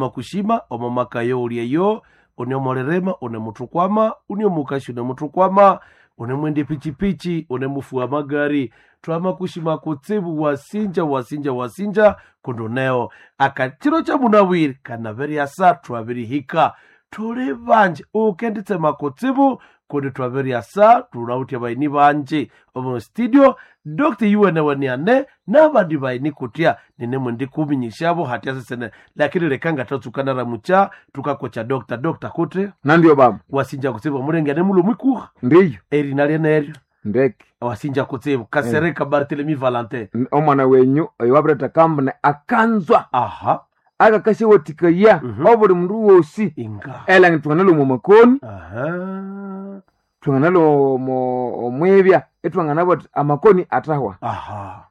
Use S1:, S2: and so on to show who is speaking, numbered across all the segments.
S1: Makushima omo maka yo ulyeyo une omolirima une muthukwama une omukasi une muthukwama une mwende pichipichi une mufu wa magari twamakushima kutsibu wasinja wasinja wasinja kunduneo akachiro cha munawiri kanaveryasa twabirihika tuli banje ukenditsema kutsibu kundi twaveryasa tunawutya baini banje omo studio dr yuweneweniane nabandi baini kutya ninemwe ndikuminyishavo hatya sesene lakini leka ngatatsuka mucha tukakocha dr dr kuti
S2: Nandio baba.
S1: wasinja kutsibu mulengene mulo mwikuha
S2: Ndiyo.
S1: erina lyeneryo
S2: Ndeke.
S1: wasinja kutsibu kasereka barthelemy valentin
S2: Omwana wenyu oyo wabireta kambune akanzwa
S1: aha
S2: akakashiwathikaya
S1: Mhm.
S2: obuli mundu wosi
S1: inga
S2: elangi thwanganalwa omu makoni
S1: aha
S2: thwanganalwa omwibya ithwanganabwa athi amakoni athahwa
S1: aha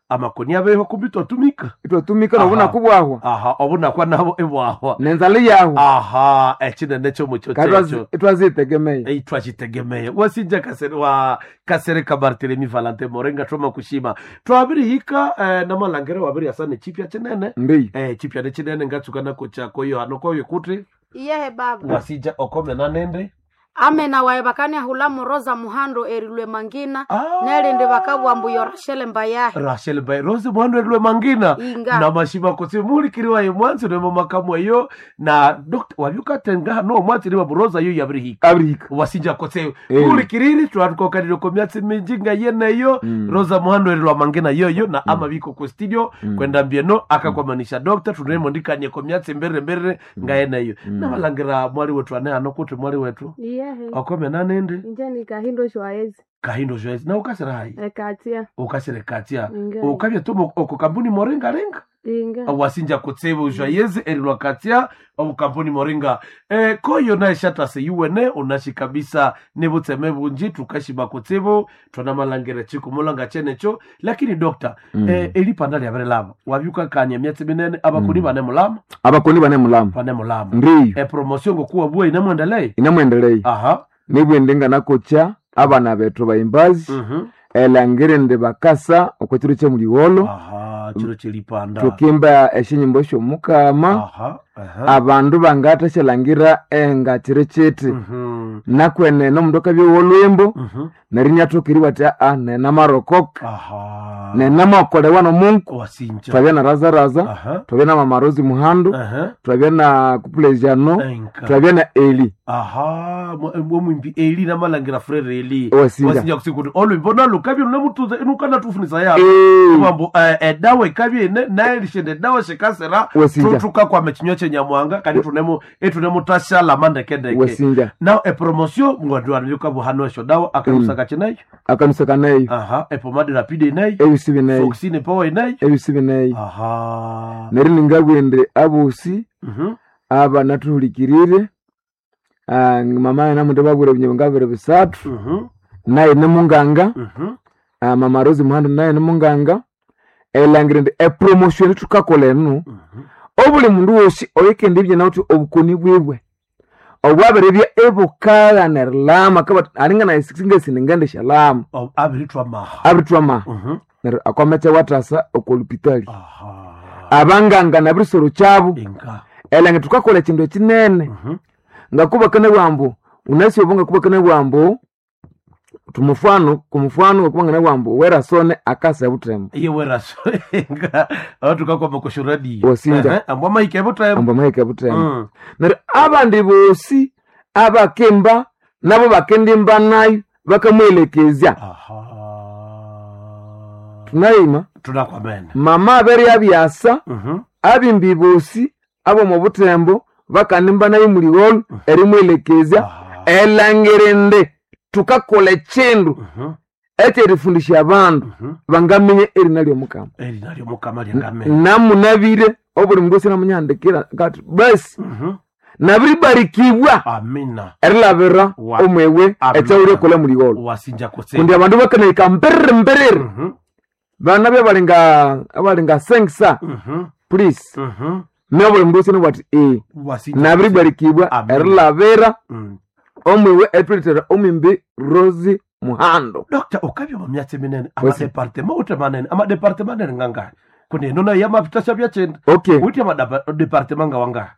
S1: amakoni abeho kumbi twatumika
S2: ithwatumika
S1: Aha.
S2: nobunaku bwahwa
S1: aha obunakwa nabo ebwahwa
S2: nenzala yahwa
S1: aha ekinene kyomucho
S2: Kandi
S1: kyekyo
S2: ithwazitegemeya
S1: itwakitegemeya wasinja kasere wa kasereka barthelemy valentin morenga twama kushima twabirihika namalangere wabiriyasa nechipya chinene
S2: ndiyo
S1: chipya nechinene ngatsuka nakochako yohano koyo kuti
S3: Iyehe baba
S1: wasinja okomena nende
S3: amena waye bakaniahula muroza muhando erilwe mangina
S1: Ah.
S3: nelindi bakabwa mbu yo rashele mbayahe
S1: rachel by rose mwandu elwe mangina
S3: Inga.
S1: na mashima kutsi mulikiriwa ye mwanzi nemo makamu eyo na dr wabyukatenga no mwanzi niwa buroza yo yabirihika
S2: abirihika
S1: wasinja kutse
S2: Eh.
S1: mulikiriri twatukokanire komyatsi minji nga yeneyo rosa muhando erilwa mangina yoyo na amabiko ku studio kwenda mbieno akakwamanisha dr tunemondikanie komyatsi mbere mbere nga yeneyo namalangira mwali wetu ane hano kuti mwali wetu
S4: Iyehe
S1: okomena nende
S4: inje nikahindo shwaezi
S1: kahindo zhwezi na ukasira hayi
S4: ekatia
S1: ukasire katia
S4: Inga.
S1: ukabya tumo oko kampuni moringaringa
S4: inga
S1: wasinja kutsibu zhwayezi erilwa katia omu kampuni moringa koyo naeshatase yuwene unashi kabisa nibutseme bunji tukashima kutsibu twanamalangire chikumulanga chenecho lakini dokta elipanda lyabirilama wabyukakania myatsi minene abakuni bane mulama
S2: abakoni bane mulamu
S1: bane mulama
S2: ndiyo
S1: epromotion ngokuwa bwe inamwendelei
S2: inamwendelei
S1: aha
S2: nibwende nganakocha abana bethu bayimbazi
S1: mhm
S2: elangire ndi bakasa okwekiro kyemuliwolo
S1: aha chiro chelipanda
S2: tukimba eshinyimbo syomukama
S1: aha aha
S2: abandu bangathasyalangira engakiro kiti
S1: mhm
S2: nakwene omundu akabya wolwimbo
S1: mhm
S2: neryo inyathokeriwa athi aa nenamarokoka
S1: aha
S2: nenamakolewa nomungu
S1: wasinja
S2: twabya na razaraza
S1: aha
S2: twabya na mamarozi muhandu
S1: aha
S2: twabya na kupulejano
S1: enka
S2: twabya na eli
S1: aha omwimbi eli namalangira frere eli
S2: Wasinja.
S1: wasinja kusikuti olwimbo nalukabye lunemutuza inukanatufunisa yabo
S2: Eh,
S1: mambo edawa ikabye ine naelishende edawa shikasera
S2: Wasinja.
S1: tukakwama ekinywa kyenyamwanga kandi tunemu etunemutashalama ndekendeke
S2: wasinja
S1: now epromotion mwandiwanbyukabuhano esyo dawa akalusaka kineyo
S2: akanusa kaneyo
S1: aha epomade rapide ineyo
S2: ebisi bineyo
S1: foxine power ineyo
S2: ebisi bineyo
S1: aha
S2: neryo ningabwende abosi
S1: Mhm.
S2: aba nathuhulikirire ah, mama namundu babwire ebinyobwa ngabiri bisathu
S1: Mhm.
S2: naye nimunganga
S1: Mhm.
S2: ah, mama Rose muhandu naye nimunganga elangire ndi epromotion thukakolha enu
S1: Mhm.
S2: obuli mundu wosi oyikendibya nawuthi obukoni bwiwe obwabiribya ibukagha erilama kabati alinga singasini
S1: Oh, abirithwa maha
S2: abirithwa maha
S1: Mhm.
S2: neryo akwamacha wathasa okolupitali
S1: aha
S2: abanganga nabirisoro kyabu
S1: inga
S2: elange thukakolha ekindu ekinene
S1: Mhm.
S2: ngakubakana bwambu unasi obo ngakubakana bwambu tumufano kumufano ngakubangana bwambu werasone akasa butembo
S1: iye weraso inga atukakoma kushuradio
S2: Wasinja.
S1: ambwa mahike butembo
S2: ambu amahika butembo
S1: Mm.
S2: neryo abandi bosi abakimba nabo bakendimba nayo bakamwelekezya
S1: aha
S2: tunayima
S1: tunakwamene
S2: mama abere abyasa
S1: Mhm.
S2: abimbi bosi abomu butembo bakandimba nayo muliwolo erimwelekezya
S1: Aha.
S2: elangire ndi tukakola ekindu
S1: Mhm.
S2: ekyerifundisha abandu
S1: Mhm.
S2: bangaminya erina lyomukama
S1: eri nalyo mukama lyangamene
S2: namunabire obuli mundu osi namunyahandikira ngati basi
S1: Mhm.
S2: nabiribarikibwa
S1: amina
S2: erilabira
S1: Wa-
S2: omwewe
S1: Amina.
S2: ekyawulyekolha muliwolo
S1: wasinja kutse
S2: kundi abandu bakanahika mbiriri mbiriri
S1: Mhm.
S2: bana byabalinga abalinga sengsa
S1: Mhm.
S2: please
S1: Mhm.
S2: nobuli mundu osi nabwati ee
S1: wasinja
S2: nabiribarikibwa
S1: Amina.
S2: erilabira
S1: Mm.
S2: omwiwe etulethera omwimbi Rose Muhando
S1: Dr. ukabya mu myatsi minene
S2: Wasi-
S1: amadepartema ute manene amadepartema anene ngangani kundi eno nayo yamavitasha byakyenda
S2: okay
S1: uti amadepartema ngawangani